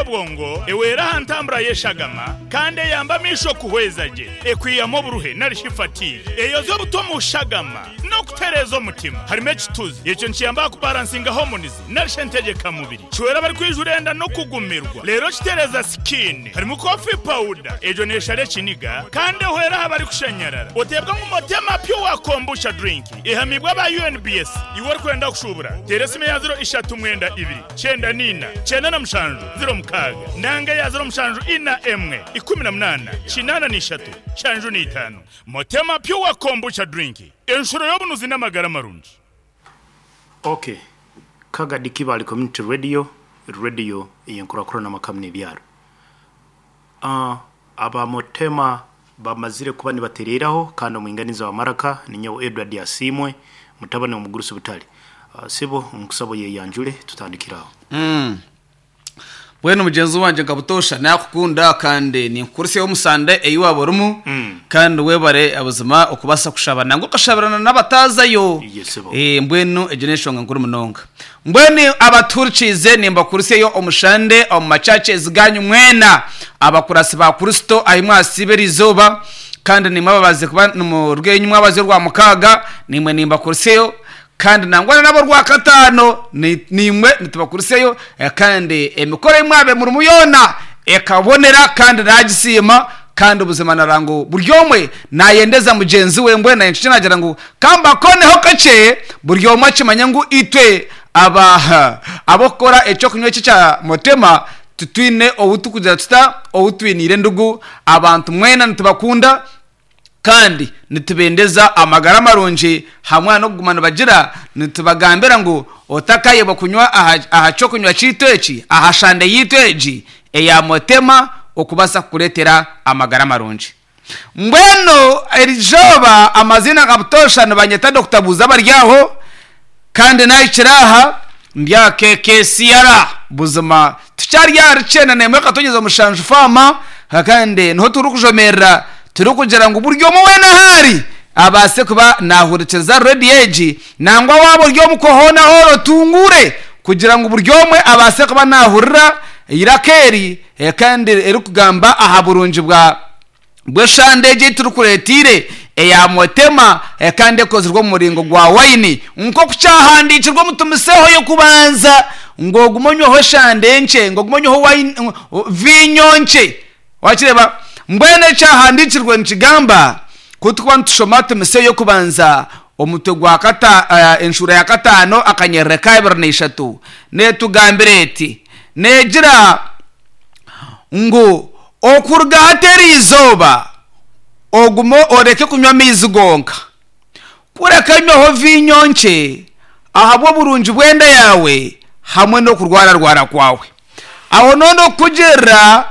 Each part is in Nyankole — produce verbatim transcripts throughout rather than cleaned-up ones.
Obwongo, ewera aha ntambura y'eshagama, kandi eyamba amaisho kuhweza gye. Ekwihamu oburuhe narishi fatigue, eyoza obuto omu shagama n'okutereeza omutima. Harimu ekituzi, ekyo nikiyamba aha kubaransinga hormones narishi entegyekamubiri. Kihwera abarikwijura enda n'okugumirwa, reero kitereeza skin. Harimu coffee powder, egyo neeshara ekiniga kandi ehwera aha barikushanyarara. Oteebwa ngu Motema Pure Kombucha Drink ehamibwe aba U N B S. Iwe orikwenda kushuubura, teera esimu eya ziro ishatu mwenda ibiri kyenda niina kyenda na mushanju ziro mukaaga nanga eya ziro mushanju ina emwe ikumi na munaana kinaana n'ishatu nshanju n'itaano. Motema Pure Kombucha Drink, enshuro y'obunuzi n'amagara marungi. Okay, Kagadi Kibale Community Radio, radio eyenkurakurana amaka n'ebyaro. uh, abamotema bamazire kuba nibatereraho, kandi omwinganiza wa maraka ninyowe Edward Asimwe, mutabani omugurusi butale. uh, sibo nkusabo yeyanjule, tutandikiraho. Mm. Bwenu mugenzi wanje, nkabutosha nakukunda kandi ninkukurisiyeho omusande eyiwaba orimu, Mm. kandi webare abuzima okubasa kushaba nangwa okashabirana n'abatazayo. Yes, sebo. Eh, mbwenu egyo n'enshonga nkuru munonga. Mbwenu abaturikize, nimbakurisiyeyo omushande omu machurches ganyu mwena, abakurasi ba Kristo ahi mwasiba eriizooba, kandi nimwe ababaze kuba nimurwenyu mwabaze rwa mukaaga, nimwe nimbakurisiyeyo, kandi nangwa nabo rwa katano ni- nimwe nitubakuriseyo. eh, kandi emikoro emwabe murimu yoona ekabonera, kandi nagisiima, kandi ubuzima narango buri omwe nayendeza mugenzi we. Mbwe naye nagira ngu kambakoneho kakye, buri omwe akimanya ngu itwe aba abokukora ekyokunywa eki kya Motema tutwine obu tukugira tuta obu twiniire endugu. Abantu mwena nitubakunda kandi nitubendeza amagara marungi hamwe n'okuguma nibagira. Nitubagambira ngu otakayebwa kunywa aha aha kyokunywa kiitu eki, aha shande yiitu egi eya Motema, okubasa kukureetera amagara marungi. Mbwenu erijoba amazina gabutosha nibanyeta Doctor Buuza baryaho, kandi nahikire aha ndya K K C R. Buzima tukyari ahari kyenda nemwe katonyeza mushanju fama, kandi niho turi kujomerera, turi kugira ngu buri omwe weena ahari abaase kuba nahurikiza rediyo egi, nangwa waba ori omu hoona hoona otungure kugira ngu buri omwe abaase kuba nahurira iraka eri, eh, kandi erikugamba aha burungi bwa bw'eshande egi turikureetiire eya Motema, eh, kandi ekozirwe omu muringo gwa wayini, nk'oku kyahandiikirwe omutumiseho y'okubanza ngu ogume onyweho eshande nkye, ngu ogume onyweho wayini, vinyo nkye. Wakireba, mbwenu ekyahandiikirwe nikigamba kutukuba nitushoma Timoseyo y'okubanza omutwe gwa kata uh, enshura ya kataano akanyerere ka abiri na ishatu, netugambira eti, negira ngu okuruga hateri izooba ogume oreke kunywa amaizi gonka, kureka nywaho vinyo nkye ahabw'oburungi bw'enda yawe hamwe n'okurwararwara kwawe. Aho none okukugirira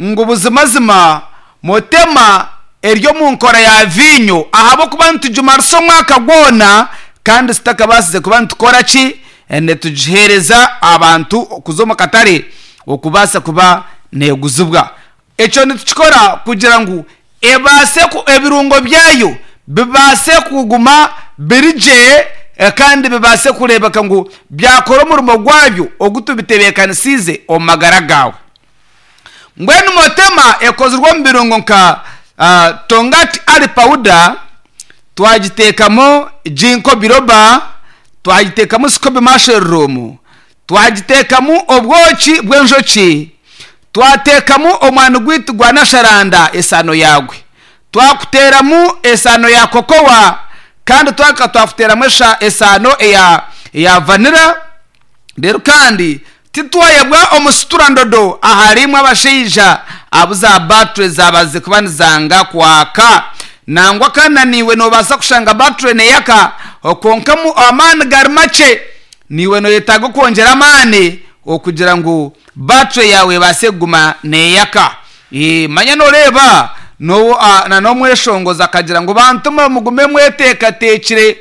ngu buzimazima Motema eri omu nkora ya vinyo, ahabw'okuba nitugimarisa omwaka gwona kandi zitakabasize kuba nitukora ki, nitugiheereza abantu kuza omu katare okubaasa kuba neguzibwa. Ekyo nitukikora kugira ngu ebaase ku- ebirungo byayo bibaase kuguma biri gye, eh, kandi bibaase kureebeka ngu byakora omurimo gwabyo ogu tubitebeekanisiize omu magara gawe. Mbwenu Motema ekozirwe omu birungo nka uh, tongkat ali powder, twagiteekamu ginkgo biloba, twagiteekamu scoby mushroom, twagiteekamu obwoki bw'enjoki, twateekamu omwani gwaitu gwa nasharanda esano yagwe, twakuteeramu esano ya cocoa, kandi twaka twakuteeramu esha- esano eya eya vanilla. Rero kandi titwayebwa omusiturandodo aharimu abashaija abu za battery zabaze kuba nizanga kwaka, nangwa kananiwe nobaasa kushanga battery neyaka konka mu amaani gari makye, niwe noyetaaga okwongyera amaani okugira ngu battery yawe ebaase kuguma neyaka. Eh, manya noreeba no na n'omweshongozi akagira ngu bantu mwe mugume mweteekateekire.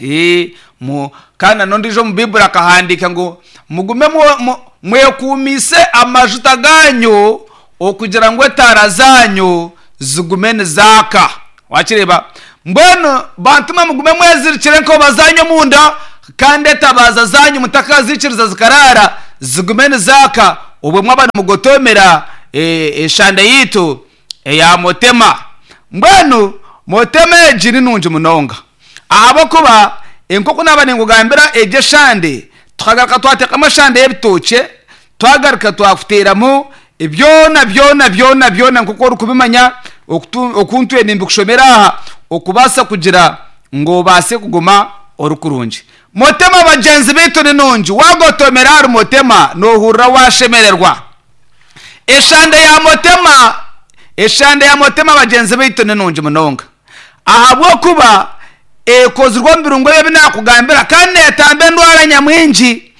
Eh, mu kandi nanondijo omu Bibuli akahandika ngu mugume mu- mu- mwekuumise amajuta ganyu okugira ngu etaara zanyu zigume nizaaka. Wakireba, mbwenu bantu mwe mugume mwezirikire enkoba zanyu omunda, kandi etabaza zanyu mutakazikiriza zikarara, zigume nizaaka. Obwe mwaba nimugotomera eshande yitu eya Motema. Mbwenu Motema egi ni nungi munonga ahabwokuba enkoko naba ningugambira egi eshande tukagaruka twateekamu eshande y'ebitookye, twagaruka twakuteeramu byona byona byona byona nk'oku orikubimanya oku ntwire nimbikushomera aha okubaasa kugira ngu obaase kuguma ori kurungi. Motema bagyenzi baitu ni nungi, wagotomera ahari Motema noohurira washemererwa. Eshande ya Motema, eshande ya Motema bagyenzi baitu ni nungi munonga ahabwokuba ekozirwe omu birungo ebi nakugambira kandi neetamba endwara nyamwingi,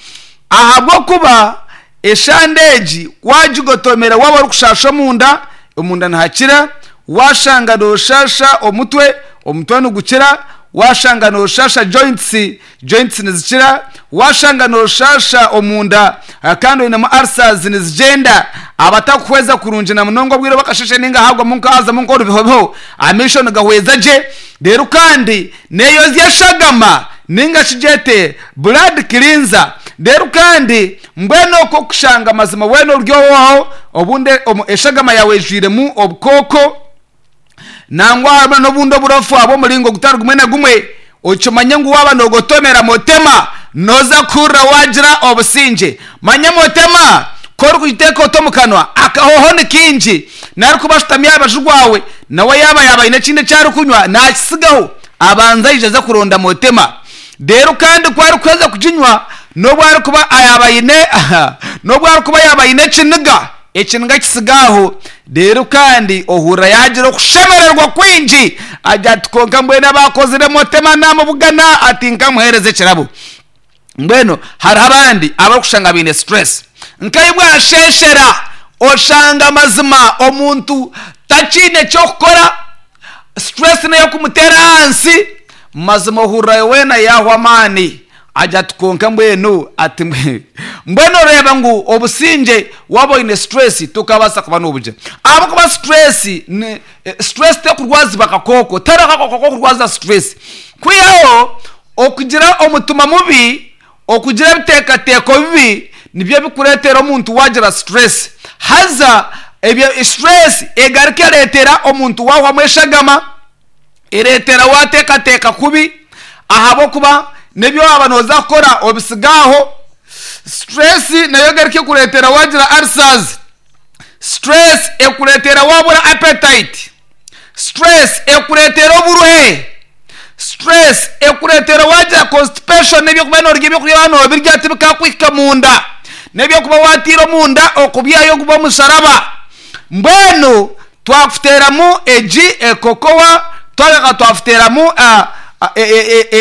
ahabwokuba eshande egi wagigotomera waaba orikushasha omunda, omunda nihakira, washanga nooshasha omutwe, omutwe nigukira, washanga nooshasha joints, joints nizikira, washanga nooshasha omunda kandi oinemu ulcers nizigyenda, abatakuhweza kurungi na munonga obwire bakasheshe ninga hagwamu nkahazamu nk'orubihobiho, amaisho nigahweza gye. Reero kandi neeyozya eshagama ninga shi gyete blood cleanser. Reero kandi mbwenu okwo kushanga amazima weena ori owaaho obundi eshagama yaawe ejwiremu obukooko nangwa harimu n'obundi oburofu bw'omuringo gutari gumwe na gumwe, okimanye ngu waaba noogotomera Motema nooza kuhurira waagira obusingye. Manya Motema ku orikugiteeka oti omu kanwa akahoho ni kaingi, narikuba ashutami aha rubaju rwawe nawe yaaba yaaba aine ekindi eki arikunywa naakisigaho abanza aije aze kuronda Motema. Reero kandi ku arikuheza kuginywa n'obu arikuba yaaba aine n'obu arikuba yaaba aine ekiniga, ekiniga kisiga aho. Reero kandi ohurira yaagira okushemererwa kwingi, agira ati konka mbwenu abakozire Motema namubugana ati nkamuheereza ekirabo. Mbwenu hariho abandi abarikushanga baine stress nkaibwe bwasheshera oshanga amazima omuntu takiine kyokukora, stress neyo kumuteera ahansi, mazima ohurira weena yaahwa amaani agira ati konka mbwenu ati mbwenu oreeba ngu obusingye waaba oine stress tokabaasa kuba noobugira, ahabwokuba stress ni stress tekurwazibwa kakooko, tihariho akakooko kokurwaza stress, kwihaho okugira omutima mubi, okugira ebiteekateeko bibi nibyo bikureetera omuntu waagira stress. Haza ebyo stress egaruka ereetera omuntu waahwamu eshagama, ereetera waateekateeka kubi ahabwokuba n'ebi waaba nooza kukora obisiga aho. Stress nayo egaruka ekureetera waagira ulcers, stress ekureetera waabura appetite, stress ekureetera oburuhe, stress ekureetera waagira constipation n'ebyokuba noorya ebyokurya waaba noobirya tibikakuhika munda, n'ebyokuba waatiire omunda okubyayo guba omusharaba. Mbwenu twakuteeramu egi ekokowa, twagaruka twakuteeramu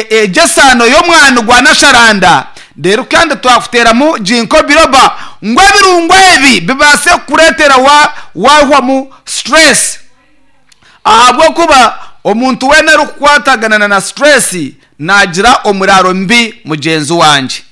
egi esaano y'omwani gwa nasharanda, reero kandi twakuteeramu ginkgo biloba ngu ebirungo ebi bibaase kukureetera waahwamu stress, ahabwokuba omuntu weena orikukwatagana na stress naagira omuraro mubi mugyenzi wangye.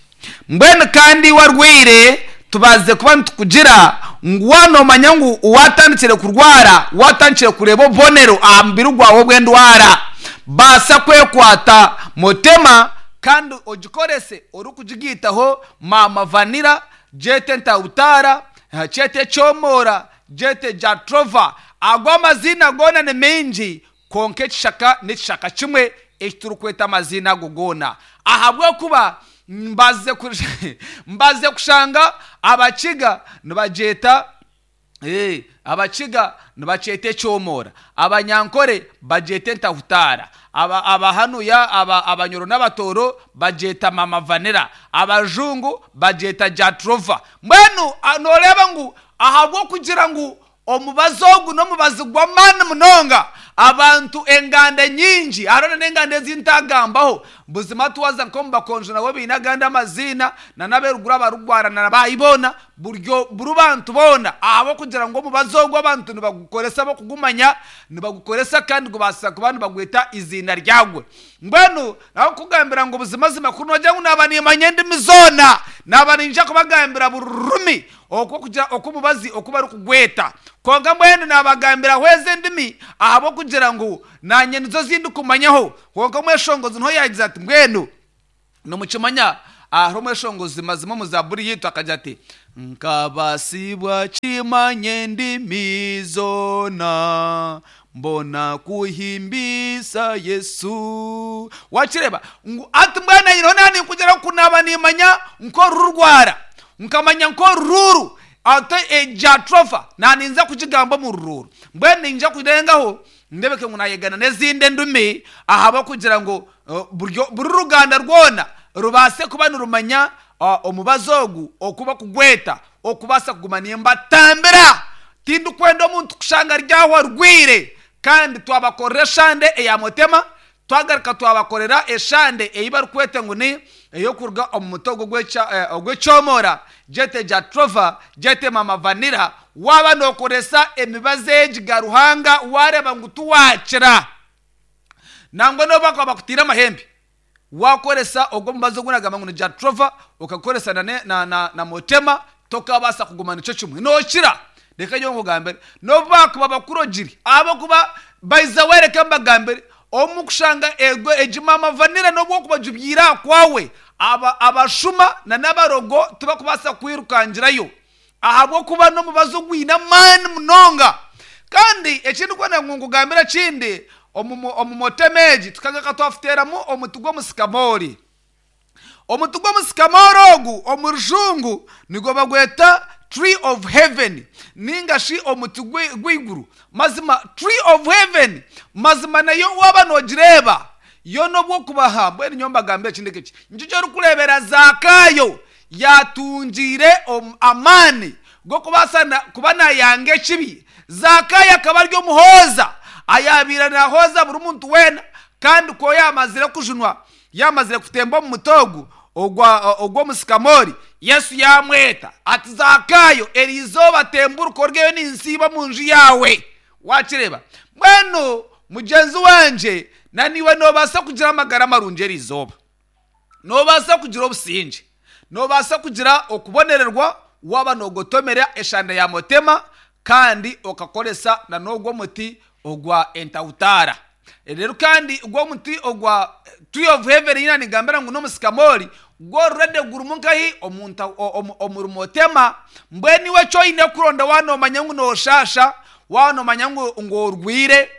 Mbwenu kandi iwe arwaire tubaase kuba nitukugira ngu wanomanya ngu watandikire kurwara, watandikire kureeba obubonero aha mubiri gwawe obw'endwara, baasa kwekwata Motema kandi ogikorese orikugigaitaho maama vanilla, gyete ntawutara, kyete ekyomora, gyete jatrova, ago amaziina goona ni maingi konka ekishaka n'ekishaka kimwe eki turikweta amaziina ago goona, ahabwokuba mbaze mbaze kushanga abakiga nibagyeta ee abakiga nibakyeta ekyomora, abanyankore bagyeta entahutara, aba abahanuya aba abanyoro n'abatooro bagyeta mama vanilla, abajungu bagyeta jatrova. Mbwenu nooreeba ngu ahabw'okugira ngu omubazi ogu n'omubazi gw'amaani munonga, abantu enganda nyingi hariho n'enganda ezi ntagambaho, buzima twaza nk'omu bakonjo nabo baine agandi amaziina na n'abeeruguru abarugwarana baayibona buryo buri bantu boona, ahabw'okugira ngu omubazi ogu abantu nibagukoresa bokugumanya, nibagukoresa kandi gubaasa kuba nibagweta iziina ryagwo. Mbwenu naho kugambira ngu buzimazima kuri noogira ngu naaba nimanya endimi zoona, naaba ninyija kubagambira buri rurimi okwo kugira oku omubazi oku barikugweta, konka mbwenu nabagambiraho ezi endimi ahabw'okugira ngu naanye nizo zindikumanyaho. Konka omweshongozi niho yaagize ati mbwenu nimukimanya Harimu eshongozi mazima omu zaburi yitu akagira ati nkabasibwa kimanye ndimi zona mbona kuhimbisa Yesu. Wakireba ngu ati mbwana nyina nani kugira kunaba nimanya nko rurwara nkamanya nko ruru ate ejatrofa naninza kukigamba mu rururu mbwene ninja kurengaho ndebeke ngu nayegana n'ezindi ndumi ahaba kugira ngo uh, buryo buri ruganda rwona rubase kuba nirumanya uh, omubazi ogu okuba kugweta okubasa kuguma nimbatambira. Tindi kwenda omuntu kushanga ryaho rwire. Kandi twabakorera eshande eya mutema, twagaruka twabakorera eshande eyi barikweta ngu ni eyokuruga omu mutogo ogw'ekyomora jete jatrova jete mama vanira. Waba nokoresa emibazi egi garuhanga wareba ngu tuwakira nangwa noba bakutira amahembe wakoresa ogwo mubazi ogunagamba ngu ni jatrova ukakoresa na, na, na, na mutema tokabasa kuguma nico kimwe nokira. Reka nyo nkugambire nobakuba bakurogiri abo kuba baiza wereka mbagambire omukushanga ego ejimama vanira nobwo kubajubyira kwawe aba abashuma na nabarogo tubakubasa kwirukangirayo ahabwo kuba no mubazo gwina mani munonga. Kandi ekindi kwenda ngugambira kindi omumotemeji tukaga katwafuteramu omutugo musikamori omutugo musikamori ogu omurujungu nigo bagweta tree of heaven ninga shi omuti gwiguru. Mazima tree of heaven mazima nayo waba nogireba yo nobwo kubaha mbwene nyomba gambe ekindi kiki njijo rukurebera Zakayo yatungire amani go kubasa kuba nayange kibi. Zakayo akaba ari omuhoza ayabira nahoza buri muntu wena kandi ko yamazire kujunwa yamazire kutemba mu mutogo ogwa ogwo musikamori. Yesu yamweta ati Zakayo erizoba temburuko rgeyo ninsiba mu nju yawe. Wakireba mweno mugenzi wanje naniwe nobasa kugira amagara marungi erizoba, nobasa kugira obusinge, nobasa kugira okubonererwa waba nogotomera eshanda ya motema kandi okakoresa na nogwo muti ogwa entautara. Rero kandi ogwo muti ogwa tree of heaven ina nigambira ngu nomusikamori gorrede gurumunkahi omuntu omurumotema mbweni we choine kuronda wano manyangu no shasha wano manyangu ngorwire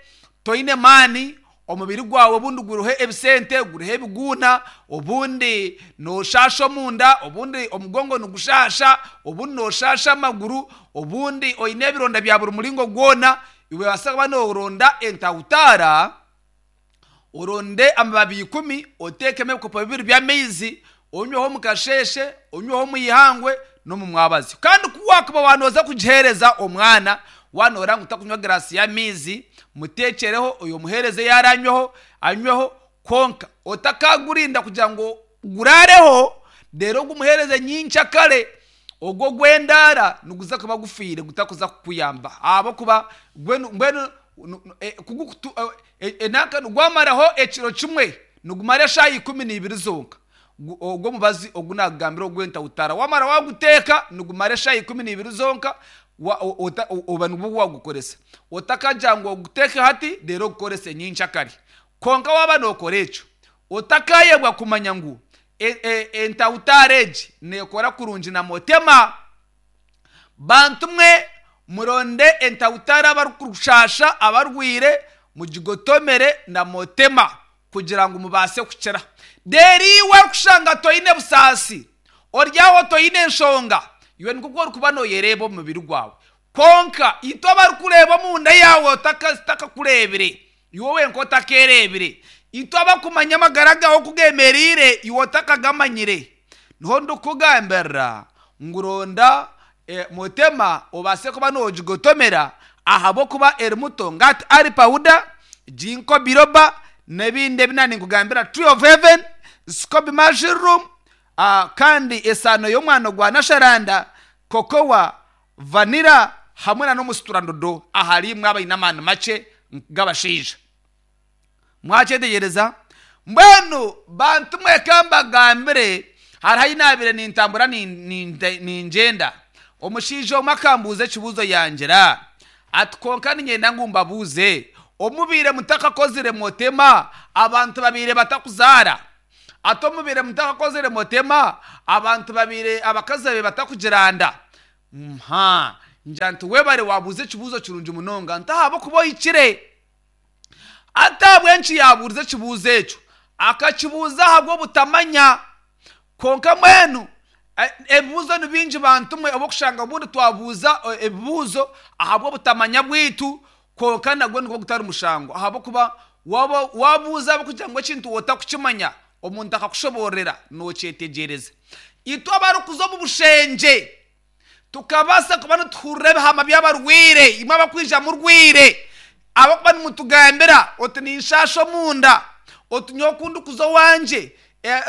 toine mani omubiri gwawe obundi guruhe ebisente guruhe ebiguna obundi no shasha munda obundi omugongo nugushasha obundi no shasha amaguru obundi oine ebironda bya buri mulingo gwona. Iwe wasaba no uronda entautara uronde amababi ikumi otekeme ebikopo bibiri by'amaizi onyweho mukasheshe onyweho muyihangwe no mu mwabazi. Kandi kuwakuba wanoza kugihereza omwana wanora ngu utakunywa grasi y'amaizi mutekereho oyo muhereze yaranyweho anyweho konka otakagurinda kugira ngo gurareho rero gumuhereze nyinshi kare ogwo gwendara nuguza kuba gufire gutakuza kukuyamba abo kuba mbwenu kugukutu enaka nugwamaraho ekiro kimwe nugumara shayi ikumi n'ibiri zonka ogwo mubazi ogunagambira ogwenta utara wamara waguteka nugumara shayi ikumi n'ibiri zonka oba nubwo wagukoresa otakaja ngo guteke hati rero gukorese nyinshi kare konka waba nokora ekyo otakayebwa kumanya ngu entautareji nekora kurungi na motema. Bantu mwe muronde entautara abarukushasha abarwire mugigotomere na motema kugira ngo mubase kukira. Deri wakushanga toine busasi oryaho toine enshonga iwe nikuko kuba noyereba omubiri gwawe konka ito abarukureba munda yawe otakakurebire iwe wenka otakerebire ito abakumanya amagara gawe kugemerire iwe otakagamanyire. Niho ndikugambira nguronda e, mutema obase kuba nogigotomera ahabo kuba eri muto ngati ari powder jinko biroba n'ebindi ebinani nkugambira tree of heaven scoby mushroom uh, kandi esano y'omwana gwa nasharanda kokowa vanira hamwe na n'omusiturandodo ahari mwe abaine amaani makye g'abashaija. Mwakyetegereza mbwenu bantu mweka mbagambire hariho ayinabire nintambura ningyenda omushaija omwe akambuuza ekibuuzo yangira ati konka ninyenda ngu mbabuuze omubire mutakakozire motema abantu babire batakuzaara Ate omubire mutakakozere motema, abantu babire abakazi babe batakugiranda. Mha, ngira nti webare wabuuza ekibuuzo kirungi munonga, ntahaba kuba ohikire. Ate ahabw'enki yabuurize ekibuuzo ekyo? Akakibuuza ahabw'obutamanya. Konka mwenu ebibuuzo ni bingi bantu mwe obukushanga obundi twabuuza ebibuuzo ahabw'obutamanya bwitu, konka nagwo nigwo gutari mushango, ahabw'okuba wabuuza ahabw'okugira ngu ekintu otakukimanya omuntu akakushoborera nokyetegyereza. Itwe abarikuza omu bushengye tukabaasa kuba nituhurira ebihama by'abarwaire, imwe abakwija murwaire, abakuba nimutugambira oti ninshasha omunda, oti nyowe oku ndikuza owangye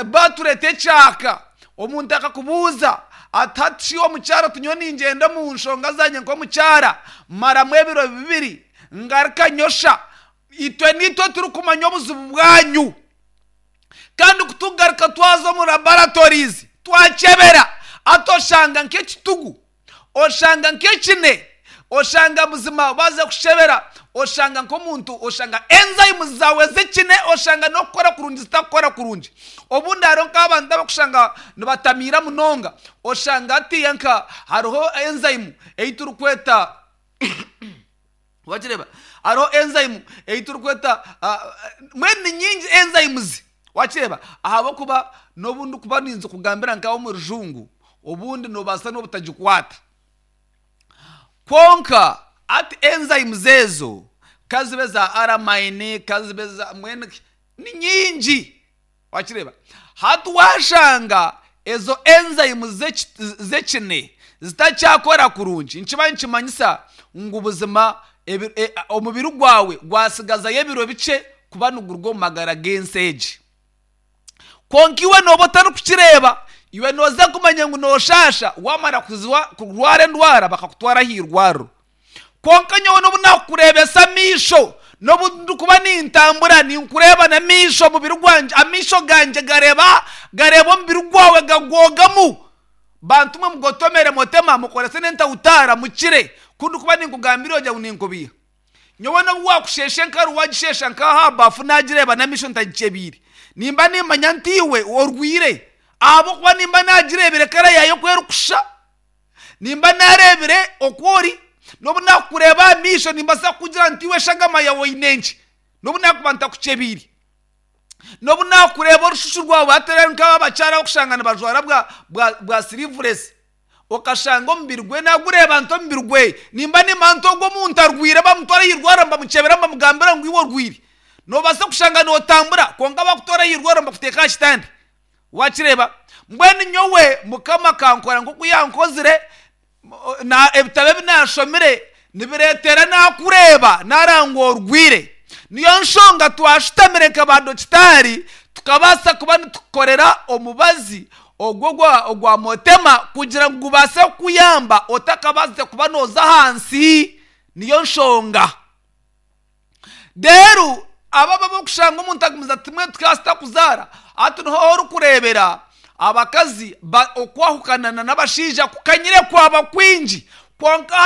batureta ekyaka, omuntu akakubuuza ati hati shi omukyara oti nyowe ningyenda omu nshonga zangye nk'omukyara maramu ebiro bibiri ngaruka nyosha. Itwe nitwe turikumanya obuzibu bwanyu, kandi kutugaruka twaza omu laboratories twakyebera, ati oshanga nk'ekitugu, oshanga nk'ekine, oshanga buzima baza kushebera, oshanga nk'omuntu, oshanga enzymes zawe z'ekine, oshanga n'okukora kurungi zitakukora kurungi. Obundi hariho nk'abantu abakushanga nibatamiira munonga, oshanga hatiya nka hariho enzyme ei turikweta wakireba, hariho enzyme ei turikweta mbwenu ni nyingi enzymes wakireba, ahabw'okuba n'obundi kuba ninza kugambira nkawe omu rujungu, obundi nobaasa n'obutagikwata. Kwonka ati enzymes ezo kazibe za aramine, kazibe za mbwenu ni nyingi wakireba. Hati washanga ezo enzymes z'ekine zitakyakora kurungi, nikiba nikimanyisa ngu buzima omubiri gwawe gwasigazayo ebiro bikye kuba niguruga omu magara g'ensi egi. Kwonka iwe nooba otarikukireeba, iwe nooza kumanya ngu nooshasha wamara kurwara endwara bakakutwara aha irwariro. Kwonka nyowe n'obu nakukureebesa amaisho, n'obu ndikuba nintambura ninkureeba n'amaisho, omubiri gwangye, amaisho gangye gareeba gareeba omubiri gwawe gagwogamu. Bantu mwe mugotomere motema mukorese n'entawutaara mukire, ku ndikuba ninkugambira ogira ngu ninkubiiha. Nyowe n'obu wakushesha enkaru wagishesha nk'aha bafu nagireeba n'amaisho ntagikyebiire, nimba nimanya nti iwe orwire, ahabw'okuba nimba nagireebire kara yaayo oku erikushusha, nimba nareebire oku ori, n'obu nakukureeba aha maisho nimbaasa kukugira nti iwe eshagama yaawe oine nki, n'obu nakuba ntakukyebiire. N'obu nakureeba orushushu rwawe hati nk'abakyara abakushanga nibajwara bwa bwa bwa sleeveless, okashanga omubiri gwe nagureeba nti omubiri gwe nimba nimanya nti ogwo omuntu arwire, bamutwara aha irwariro bamukyebera bamugambira ngu iwe orwire. Nobaasa kushanga nootambura kwonka bakutwara aha irwariro bakuteeka aha kitanda wakireeba. Mbwenu nyowe Mukama akankora nk'oku yankozire, ebitabo ebi nashomire nibireetera nakureeba narangwa orwire. Niyo nshonga twashutamire nka badokitaari tukabaasa kuba nitukukorera omubazi ogwo ogwa motema kugira ngu gubaase kukuyamba otakabaasize kuba nooza ahansi. Niyo nshonga. Reero aba abakushanga omuntu agumize ati mbwenu tukaba kuzaara, hati niho orikureebera abakazi okwahukana n'abashaija kukanyire kwaba kwingi, kwonka